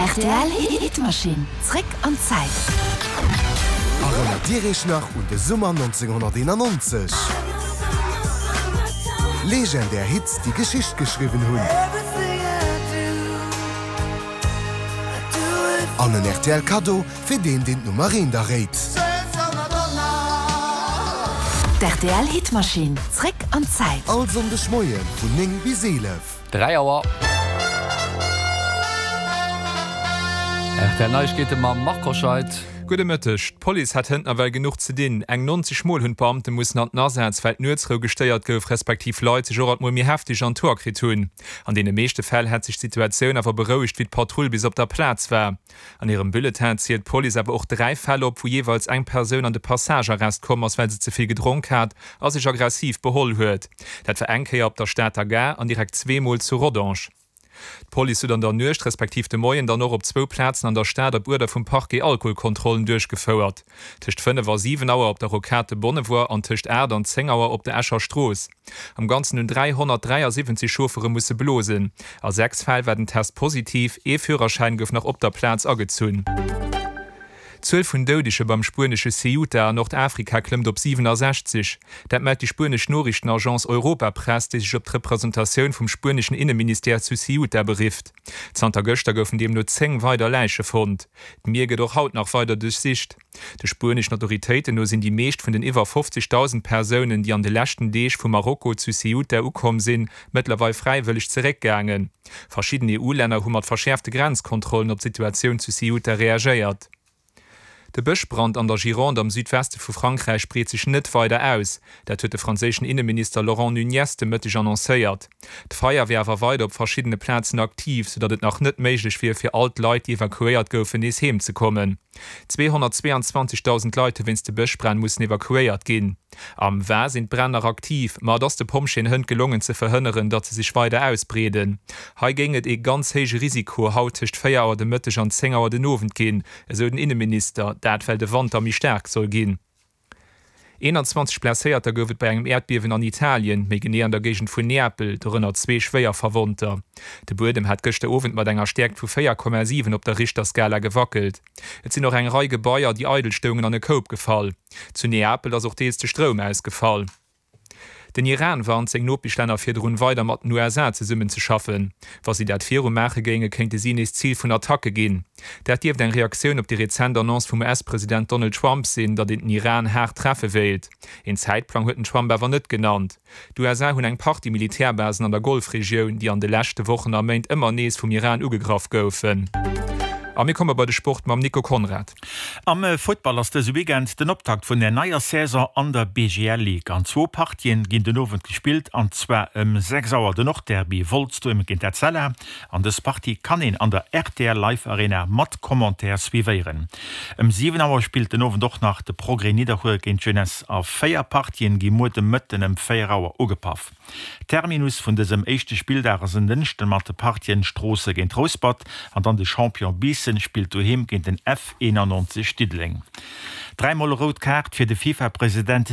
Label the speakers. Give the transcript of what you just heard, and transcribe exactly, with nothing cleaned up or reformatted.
Speaker 1: Rtl Hitmaschinn, zréck an d'Zäit.
Speaker 2: Erënnert Dir Iech nach un de Summer nonzénghonnerteenannonzeg? Legendär Hits, déi Geschicht geschriwwen hunn. An en rtl Kaddo fir deen, deen d'Nummer eent erréit.
Speaker 1: D'RTL Hitmaschinn, zréck an d'Zäit.
Speaker 2: All Sonndeg Moie vun néng bis eelef.
Speaker 3: Dräi Auer. Rtl Neiegkeete mam Marc Hoscheid.
Speaker 4: Gudde Mëtteg. D'Police hat hënt nawell genuch ze dinn. Eng nonzeg Mol hunn d'Beamte mussen an den Asaz, well d'Nuetsrou gestéiert gouf, respektiv Leit sech och alt mol méi hefteg an d'Hoer kritt hunn. An deene meeschte Fäll hätt sech d'Situatioun awer berouegt, wéi d'Patrull bis op der Plaz war. An hirem Bulletin zielt d'Police awer och dräi Fäll op, wou jeeweils eng Persoun an de Passagearrest komm ass, well se ze vill gedronk hat a sech aggressiv beholl huet. Dat war eng Kéier op der Stater Gare an direkt zwee Mol zu Rodange. D'Police huet an der Nuecht respektiv de Moien dann och op zwou Plazen an der Stad op Uerder vum Parquet Alkoholkontrollen duerchgefouert. Tëscht fënnef a siwen Auer op der Rocade de Bonnevoie an tëscht aacht an zéng Auer op der Escher Strooss. Am Ganzen hunn dräihonnertdräiasiwwenzeg Chauffere musse blosen. A sechs Fäll war den Test positiv, ee Führerschäin gouf nach op der Plaz agezunn. D'Zuel vun Doudege beim spuenesche Ceuta an Nordafrika klëmmt op siwenasechzeg. Dat mellt déi spuenesch Noriichtenagence Europa Press, déi sech op d'Representatioun vum spueneschen Inneministère zu Ceuta berifft. Zanter gëschter goufen deemno zéng weider Läiche fonnt. D'Mier gëtt och haut nach weider duerchsicht. De spueneschen Autoritéiten no sinn déi meescht vun den iwwer fofzegdausend Persounen, déi an de leschten Deeg vu Marokko zu Ceuta ukomm sinn, mëttlerweil fräiwëlleg zeréckgaangen. Verschidden E U-Länner hu mat verschäerfte Grenzkontrollen op d'Situatioun zu Ceuta reagéiert. De Bëschbrand an der Gironde am Südweste vu Frankräich breet sech net weider aus. Dat huet de franséischen Inneminister Laurent Nunez de Mëtteg annoncéiert. D'Feier wier awer weider op verschiddene Plazen aktiv, soudatt et nach net méiglech wier, fir all d'Leit, déi evakuéiert goufen, nees heem ze kommen. Zweehonnertzweeanzwanzegdausend Leit hu wéinst de Bëschbränn mussen evakuéiert ginn. Am Var sinn d'Bränn nach aktiv, ma et ass de Pompjeeën hënt gelongen ze verhënneren, datt se sech weider ausbreeden. Hei géing et ee ganz héije Risiko haut tëscht véier Auer de Mëtteg an zéng Auer den Owend ginn, esou den Inneminister. Dat well de Wand da méi staark soll ginn. Eenanzwanzeg Blesséierter gouf et bei engem Äerdbiewen an Italien, méi genee an der Géigend vun Neapel, dorënner zwee schwéier Verwonnter. De Buedem hat gëschter Owend mat enger Stäerkt vu véier Komma siwen op der Richterskala gewackelt. Et sinn och eng Rei Gebaier, déi eidel stoungen, an e Koup gefall. Zu Neapel ass och deels de Stroum ausgefall. Den Iran warnt seng Nopeschlänner virdrun, weider mat den U S A zesummenzeschaffen. Wa si dat viru maache géinge, kéinte si nees Zil vun Attacke ginn. Dat dierft eng Reaktioun op déi rezent Annonce vum U S-President Donald Trump sinn, datt een den Iran haart treffe wéilt. Een Zäitplang huet den Trump awer net genannt. D'U S A hunn eng Partie Militärbasen an der Golfregioun, déi an de leschte Wochen a Méint ëmmer nees vum Iran ugegraff goufen. A mir komme bei de Sport mam Nico Conrad.
Speaker 5: Am Futtball ass dëse Weekend den Optakt vun der neier Saison an der B G L Ligue. An zwou Partien ginn den Owend gespillt, an zwar ëm sechs Auer den Nordderby Wolz doheem géint Etzella. An dës Partie kann een an der R T L Live Arena mat Commentaire suivéieren. Ëm siwen Auer spillt den Owend och nach de Progrès Nidderkuer géint d'Jeunesse a véier Partien gi muer de Mëtten ëm véier Auer ugepaff. Terminus vun dësem éischte Spilldag ass en Dënschden mat de Partien Stroossen géint Rouspert an dann de Champion Biissen spillt doheem géint den F eenannonzeg Diddeleng. Dräi mol rout Kaart fir de FIFA-President.